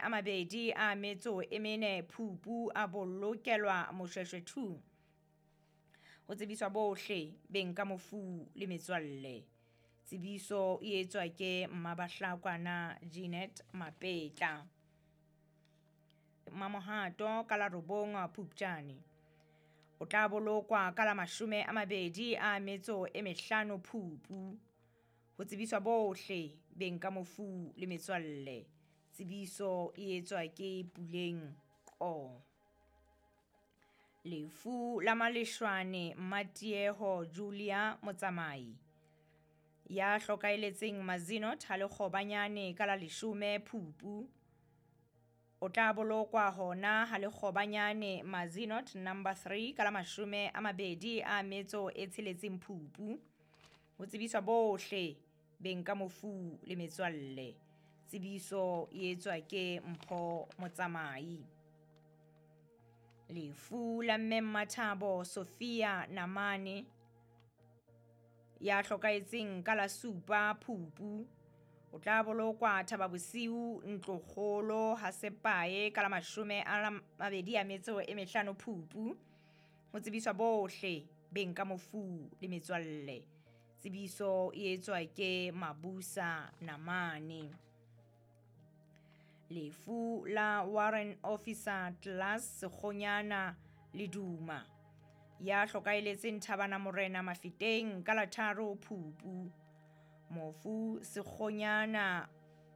24 Phupu a bolokelwa Moshoeshoe 2. Ho tsebiswa bohle beng ka mofu le metswalle. Tsebiso e etswa ke Mmabahlakwana Jeanette Mapetla. Mamohato ka la 9 Phupjane. O tla bolokwa ka la 25 Phupu. Ho tsebiswa bohle beng ka mofu le metswalle. Tsebiso e etswa ke Puleng Qo. Lefu la Maleshwane Mmatieho Julia Motsamai ya hlokaeletseng Mazinot ha Lekgobanyane ka la 10 Phupu. O tla bolokwa hona ha Lekgobanyane Mazinot number 3 ka la 26 Phupu. Ho tsebiswa bohle beng ka mofu le metswalle. Tsebiso e etswa ke Mpho Motsamai. Lefu la mme Mmathabo Sophia Namane ya hlokahetseng ka la 7 Phupu. O tla bolokwa Thaba Bosiu Ntlokgolo ha Sepae ka la 25 Phupu. Ho tsebiswa bohle beng ka mofu le metswalle. Tsebiso e etswa ke Mabusa Namane. Lefu la Warrant Officer Class Sekgonyana Leduma ya hlokaeletseng Thabana Morena Mafeteng ka la 3 Phupu. Mofu Sekgonyana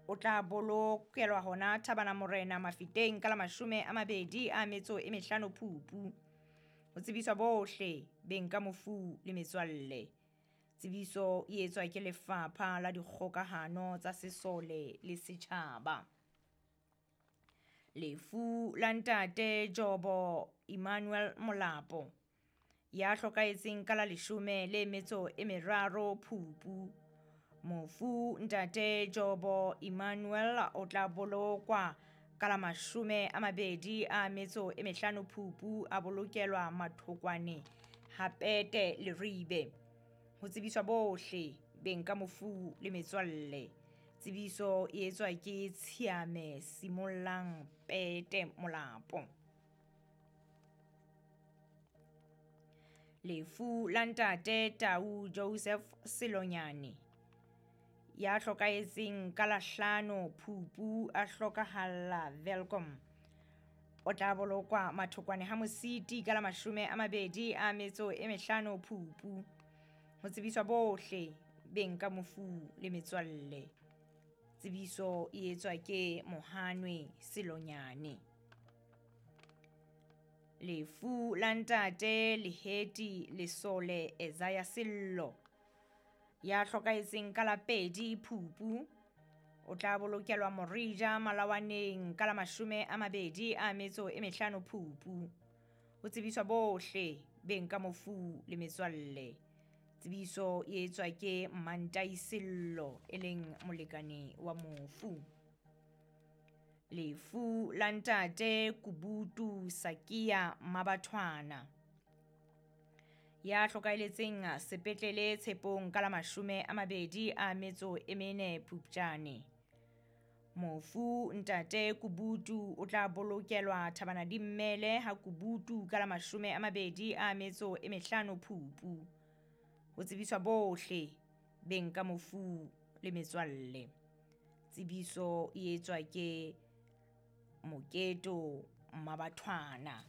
o tla bolokelwa hona Thabana Morena Mafeteng ka la 25 Phupu. Ho tsebiswa bohle beng ka mofu le metswalle. Tsebiso e etswa ke Lefapha la Dikgokahano tsa Sesole le Setjhaba. Lefu la ntate Jobo Emmanuel Molapo ya hlokahetseng ka la 13 Phupu. Mofu ntate Jobo Emmanuel o tla bolokwa ka la 25 Phupu a bolokelwa Mathokwane Hapete Leribe. Ho tsebiswa bohle beng ka mofu le metswalle. Tsebiso e etswa ke Tshiame Simollang Pete Molapo. Lefu la ntate Tau Joseph Selonyane ya hlokahetseng ka la 5 Phupu a hlokahalla Welkom. O tla bolokwa Mathokwane ha Mositi ka la 25 Phupu. Ho tsebiswa bohle beng ka mofu le metswalle. Tsebiso e etswa ke Mohanwe Selonyane. Lefu la ntate Leheti Lesole Ezaya Sello ya hlokahetseng ka la 2 Phupu. O tla bolokelwa Morija Malawaneng ka la 25 Phupu. Ho tsebiswa bohle beng ka mofu le metswalle. Tsebiso e etswa ke Mmantai Sello e leng molekane wa mofu. Lefu la ntate Kubutu Sakia Mabathwana ya hlokaeletseng sepetlele Tshepong ka la 24 Phupjane. Mofu ntate Kubutu o tla bolokelwa Thabana Dimmele ha Kubutu ka la 25 Phupu. Ho tsebiswa bohle beng ka mofu le metswalle. Tsebiso e etswa ke Moketo Mabathwana.